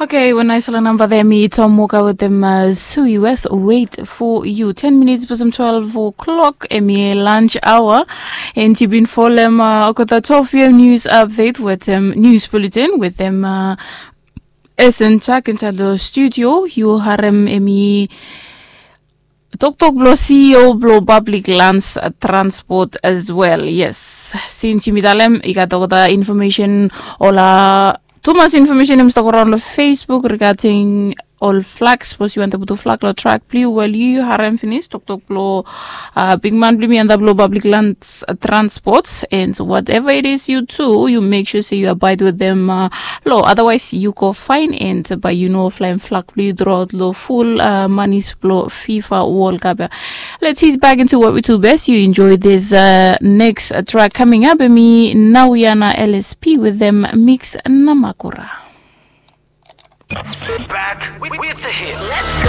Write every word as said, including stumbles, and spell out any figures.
Okay, wan naisala namba there mi Tom Walker wetem uh, Sui West, wait for you. Ten minutes past twelve o'clock, emi lunch hour. And yu bin folem uh, okota twelve p m news update wetem news bulletin wetem uh, Esen Chak inside the studio. Yu harem emi toktok blo C E O blo public lands uh, transport as well. Yes, since yumi talem i gat okota information ola tumas information em stok around lo Facebook regarding ol flag. Suppose you want to put a flag lo track blue, well, you harem finish toktok blo uh, big man blue me and the blo public lands uh, transport. And whatever it is you do, you make sure say you abide with them uh, law, otherwise you go fine. And by you know flying flag blue throughout lo full uh, manis blo FIFA World Cup. Let's hit back into what we do best. You enjoy this uh, next uh, track coming up. Me now yana L S P with them mix namakura. Back with, with the hits.